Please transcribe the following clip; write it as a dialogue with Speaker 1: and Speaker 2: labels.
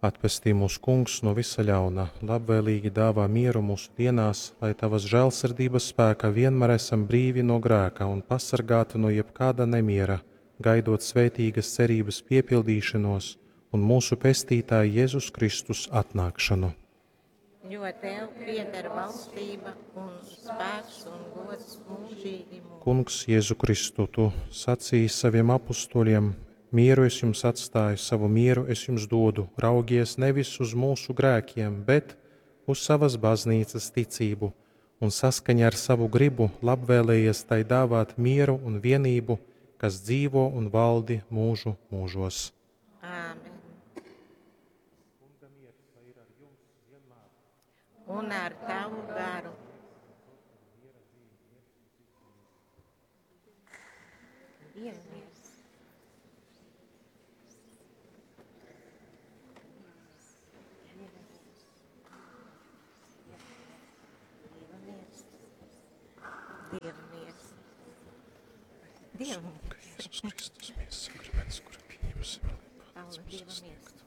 Speaker 1: Atpestī mūs, Kungs, nu vysa ļauna, labvēlīgi dāvā mieru mūsu dienās, lai tavas žēlsirdības spēkā vienmēr esam brīvi no grēka un pasargāti no jebkāda nemiera, gaidot svētīgas cerības piepildīšanos un mūsu Pestītāja Jēzus Kristus atnākšanu.
Speaker 2: Jo tev pieder valstība un spēks un gods mūžīgi mūžīgi.
Speaker 1: Kungs, Jēzu Kristu, tu sacīji saviem apustuļiem: Mieru es jums atstāju, savu mieru es jums dodu. Raugies nevis uz mūsu grēkiem, bet uz savas baznīcas ticību, un saskaņā ar savu gribu labvēlējies tai dāvāt mieru un vienību, kas dzīvo un valdi mūžu mūžos.
Speaker 2: Āmen. Un ar tavu garu. Dieva miers. Dieva miers. Dieva miers. Dieva miers.
Speaker 1: Jēzus Kristus, miesas sakraments, kuru pieņemsim, lai
Speaker 2: Paula,
Speaker 1: palīdz mums
Speaker 2: Dieva
Speaker 1: sasniegt.
Speaker 2: miers.